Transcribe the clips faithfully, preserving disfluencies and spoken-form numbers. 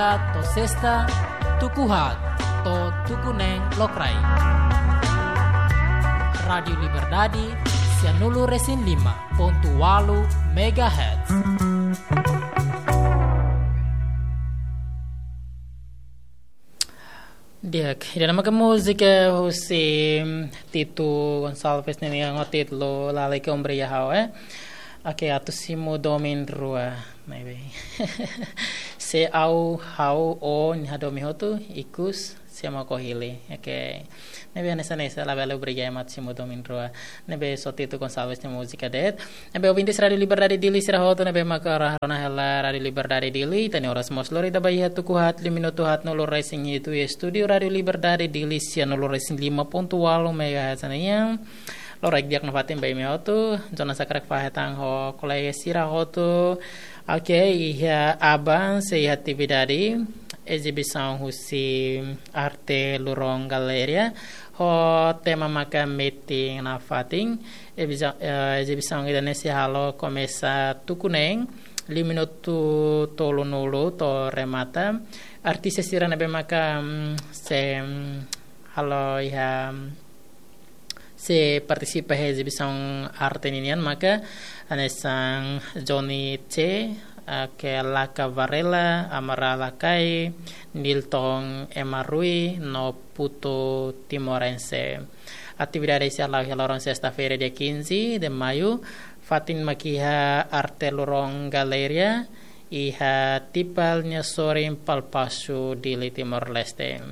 To'o sesta, tuku haat to'o tuku neen lokraik. Rádiu Liberdade, sianulu resin lima pontu ualu megahertz. Di'ak, ida-ne'e maka múzika husi Tito Gonçalves nian ho títulu Lalika Ombreia Ha'u, eh. Oke, atu simu domin rua, ne'ebé. Se ha'u, ha'u, o, nia hadomi hotu, ikus, se mak o hili. Oke. Ne'ebé hanesan ne'e, labele obriga ema atu simu domin rua. Ne'ebé só Tito Gonçalves nia múzika de'it. Ne'ebé ouvintes Rádiu Liberdade Dili sira hotu ne'ebé maka rona hela Rádiu Liberdade Dili, ita-nia oras mós lori ita ba iha tuku haat, liu minutu haatnulu resin hitu iha estúdiu Rádiu Liberdade Dili, sianulu resin lima pontu ualu megahertz nian. Loraik di'ak nafatin ba imi hotu, Jonas hakarak fahe tan ho kolega sira hotu. Oke, iha aban sei iha atividade ezibisaun husi arte Luron Galeria ho tema maka metin nafatin. Ebiza-, eh, ezibisaun ida-ne'e sei halo komesa tuku neen, liu minutu tolunulu to'o remata. Artista sira ne'ebé maka, mm, sei, mm, halo iha, mm, sei partisipa iha ezibisaun arte ninian maka hanesan Johnny Che, eh, ke Laka Varela, Amara Lakai, Nilton Emarui, no Putu Timorense. Atividade sei hala'o iha loron sesta-feira, dia quinze de maio, fatin mak iha arte Luron Galeria, iha Tipal nia sorin Palpasu, Dili, Timor-Leste.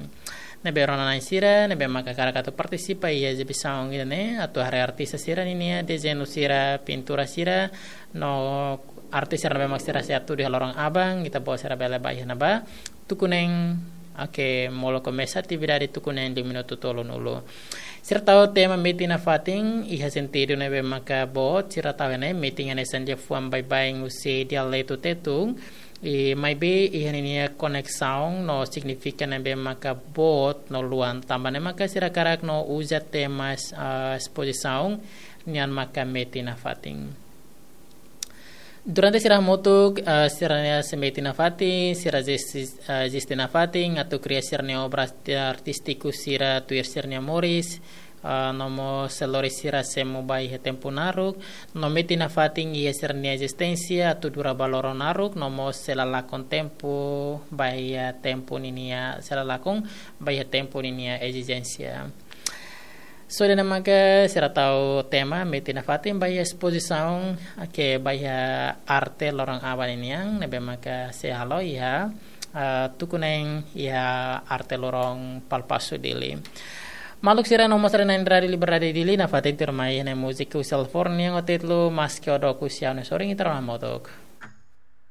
Ne'ebé rona-na'in sira ne'ebé maka hakarak atu partisipa iha ezibisaun ida-ne'e, atu haree artista sira ninia dezeñu sira, pintura sira, no arte sira ne'ebé mak sira sei hatudu iha loron aban, ita-boot sira bele ba iha ne'ebá tuku neen, oke, molok komesa atividade tuku neen liu minutu tolunulu. Sira tau tema metin nafatin iha sentidu ne'ebé maka boot, sira tau iha ne'e metin hanesan liafuan baibain husi dialetu Tetun, i maibé iha ninia koneksaun no signifika ne'ebé maka boot no luan, tanba ne'e maka sira hakarak no uza tema, ah, espozisaun nian maka metin nafatin. Durante sira hamutuk, eh, sira-nia sei metin nafatin, sira ezis-, eh, eziste nafatin, atu kria sira-nia obra arti-, artístiku sira tuir sira-nia moris, eh, no mós sei lori sira semo ba iha tempu naruk, no metin nafatin iha sira-nia ezisténsia atu dura ba loron naruk, no mós sei la lakon tempu ba iha tempu ninia, sei la lakon ba iha tempu ninia ezisténsia. Só ida-ne'e maka sira tau tema metin nafatin ba iha espozisaun, ke ba iha arte loron aban ninian, ne'ebé maka sei halo iha, ah, tuku neen iha arte Luron Palpasu, Dili. Maluk sira, no mós rona-na'in Rádiu Liberdade Dili, nafatin tuirmai iha ne'e múzika husi Alfor nian ho títulu Maske O Dook Husi Ha'u-nia Sorin, ita rona hamutuk.